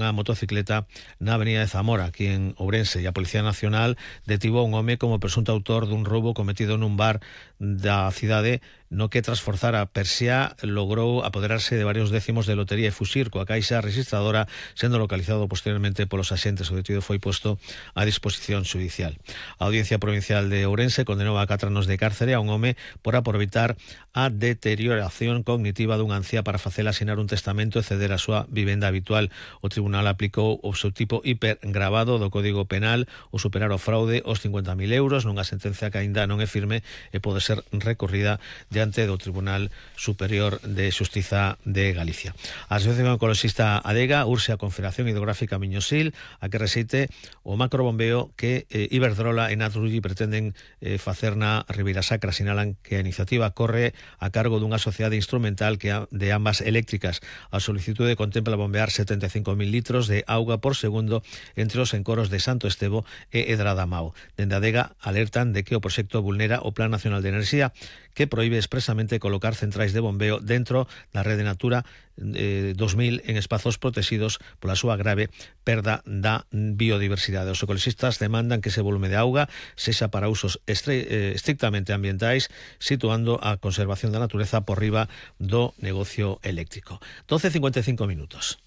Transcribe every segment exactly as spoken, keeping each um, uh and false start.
dunha motocicleta na avenida de Zamora, aquí en Ourense, e a Policía Nacional detivo a un home como presunto autor dun roubo cometido nun bar da cidade, no que tras forzar a persia logrou apoderarse de varios décimos de lotería e fuxir coa caixa registradora, sendo localizado posteriormente polos axentes. O detido foi posto a disposición judicial. A Audiencia Provincial de Ourense condenou a catro anos de cárcere a un home por aproveitar a deterioración cognitiva dunha anciá para facela asinar un testamento e ceder a súa vivenda habitual. O tribunal aplicou o seu tipo hipergravado do Código Penal o superar o fraude os cincuenta mil euros nunha sentencia que aínda non é firme e pode ser recorrida diante do Tribunal Superior de Xustiza de Galicia. A Asociación Ecoloxista Adega urxe a Confederación Hidrográfica Miñosil a que rexeite o macrobombeo que eh, Iberdrola e Naturgy pretenden eh, facer na Ribeira Sacra. Sinalan que a iniciativa corre a cargo dunha sociedade instrumental que a, de ambas eléctricas. A solicitude contempla bombear setenta e cinco mil litros de auga por segundo entre os encoros de Santo Estevo e Edradamao. Dende Adega alertan de que o proxecto vulnera o Plan Nacional de Enerxía, que proíbe expresamente colocar centrais de bombeo dentro da rede Natura eh, dos mil en espazos protegidos pola súa grave perda da biodiversidade. Os ecoloxistas demandan que ese volume de auga sexa para usos estre, eh, estrictamente ambientais, situando a conservación da natureza por riba do negocio eléctrico. doce e cincuenta e cinco minutos.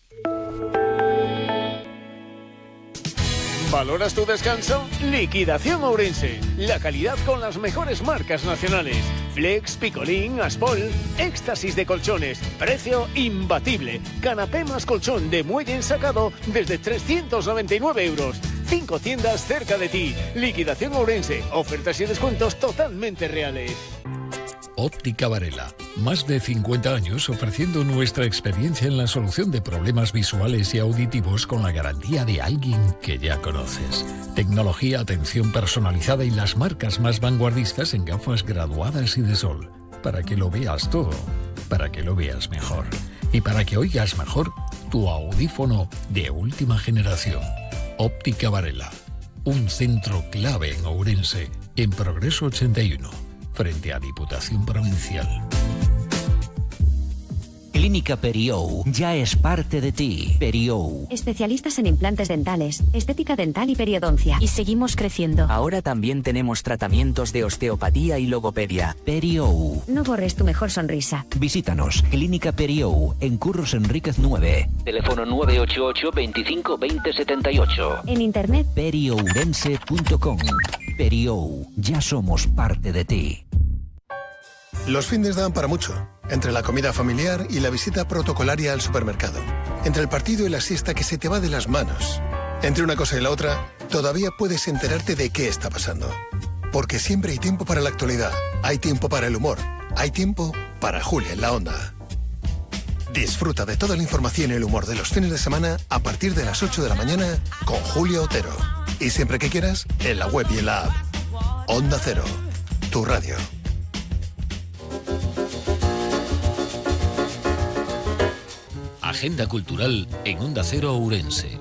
¿Valoras tu descanso? Liquidación Ourense. La calidad con las mejores marcas nacionales. Flex, Picolín, Aspol. Éxtasis de colchones. Precio imbatible. Canapé más colchón de muelle ensacado desde trescientos noventa y nueve euros. Cinco tiendas cerca de ti. Liquidación Ourense. Ofertas y descuentos totalmente reales. Óptica Varela. Más de cincuenta años ofreciendo nuestra experiencia en la solución de problemas visuales y auditivos con la garantía de alguien que ya conoces. Tecnología, atención personalizada y las marcas más vanguardistas en gafas graduadas y de sol. Para que lo veas todo. Para que lo veas mejor. Y para que oigas mejor tu audífono de última generación. Óptica Varela. Un centro clave en Ourense. En Progreso ochenta y uno. Frente a Diputación Provincial. Clínica Periou ya es parte de ti. Periou. Especialistas en implantes dentales, estética dental y periodoncia. Y seguimos creciendo. Ahora también tenemos tratamientos de osteopatía y logopedia. Periou. No borres tu mejor sonrisa. Visítanos. Clínica Periou, en Curros Enríquez nueve. Teléfono nueve ocho ocho, veinticinco, veinte, setenta y ocho. En internet periourense punto com. Periou. Ya somos parte de ti. Los findes dan para mucho. Entre la comida familiar y la visita protocolaria al supermercado. Entre el partido y la siesta que se te va de las manos. Entre una cosa y la otra, todavía puedes enterarte de qué está pasando. Porque siempre hay tiempo para la actualidad. Hay tiempo para el humor. Hay tiempo para Julia en la Onda. Disfruta de toda la información y el humor de los fines de semana a partir de las ocho de la mañana con Julia Otero. Y siempre que quieras, en la web y en la app. Onda Cero, tu radio. Agenda cultural en Onda Cero Ourense.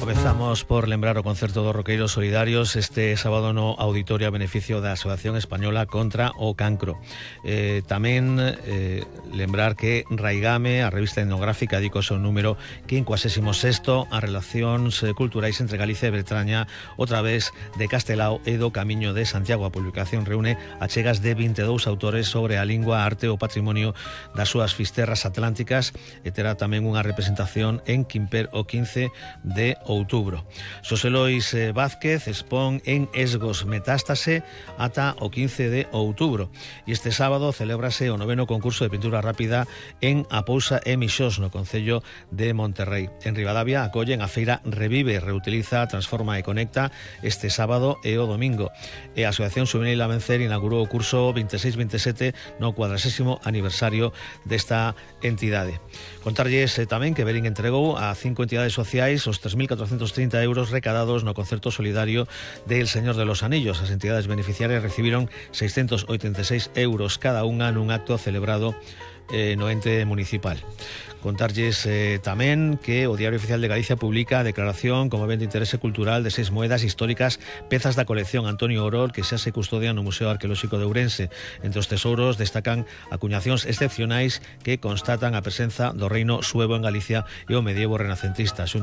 Comezamos por lembrar o concerto dos roqueiros solidarios este sábado no auditorio a beneficio da Asociación Española contra o Cancro. Eh, tamén eh, lembrar que Raigame, a revista etnográfica, dedica o seu número quincuagésimo sexto a relacións culturais entre Galicia e Bretaña, outra vez de Castelao e do Camiño de Santiago. A publicación reúne achegas de vinte e dous autores sobre a lingua, a arte e o patrimonio das súas fisterras atlánticas e terá tamén unha representación en Quimper o quince de outubro. Xosé Lois Vázquez expón en Esgos Metástase ata o quince de outubro. E este sábado celébrase o noveno concurso de pintura rápida en A Pousa e Mixós, no concello de Monterrei. En Ribadavia acollen a feira Revive, Reutiliza, Transforma e Conecta este sábado e o domingo. E a Asociación Xuvenil a Vencer inaugurou o curso veintiséis veintisiete no cuadragésimo aniversario desta entidade. Contarlles eh, tamén que Berín entregou a cinco entidades sociais os tres mil catrocentos trinta euros recadados no concerto solidario del Señor de los Anillos. As entidades beneficiarias recibiron seiscentos oitenta e seis euros cada unha nun acto celebrado eh, no ente municipal. Contarlles eh, tamén que o Diario Oficial de Galicia publica a declaración como ben de interese cultural de seis moedas históricas, pezas da colección Antonio Orol, que xa se custodian no Museo Arqueolóxico de Ourense. Entre os tesouros destacan acuñacións excepcionais que constatan a presenza do reino suevo en Galicia e o medievo renacentista.